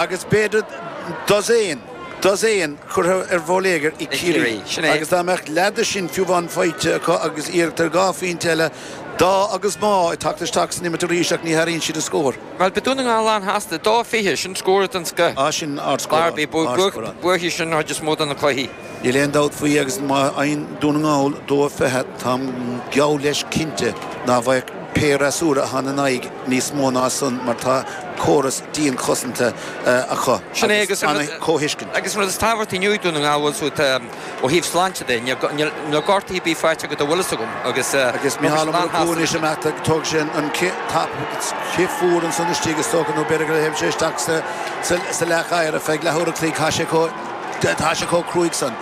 Agus b'fhéidir dosaen, dosaen curtha ar bhóiléagar ag Ciarraí. Agus dá mbeadh leath de sin fiú amháin faighte acu agus iarracht ar dhá phointe eile, dá agus má, ag teacht isteach san imirt arís ach ní athraíonn siad an scór. Bhuel, beidh Dún na nGall an-shásta. 2-20, sin scór den scoth. Á, sin ardscór. Buafaidh sin an chuid is mó de na cluichí. Níl aon dabht faoi agus má fhaigheann Dún na nGall 2-20, táim geall leis cinnte ná bhfaigheadh pé fhreasúra atá ina n-aghaidh níos mó ná san mar tá córas dianchosanta acu Sin é agus an-chomhthuiscint. Agus an rud is tábhachtaí inniu ag Dún na Ngall, bhfuil 's agat, ó thaobh sláinte de, níl gortuithe ar bith faighte acu dá bhfuil fhios agam agus Agus Micheál Ó Murchú anois amach tógfaidh sé an cith fuar ansan istigh is dócha nó b'fhéidir gur théann sé isteach sa leathchathaoir ar feadh leathuair a chloig. Tá sé chomh tá sé chomh cruaidh san.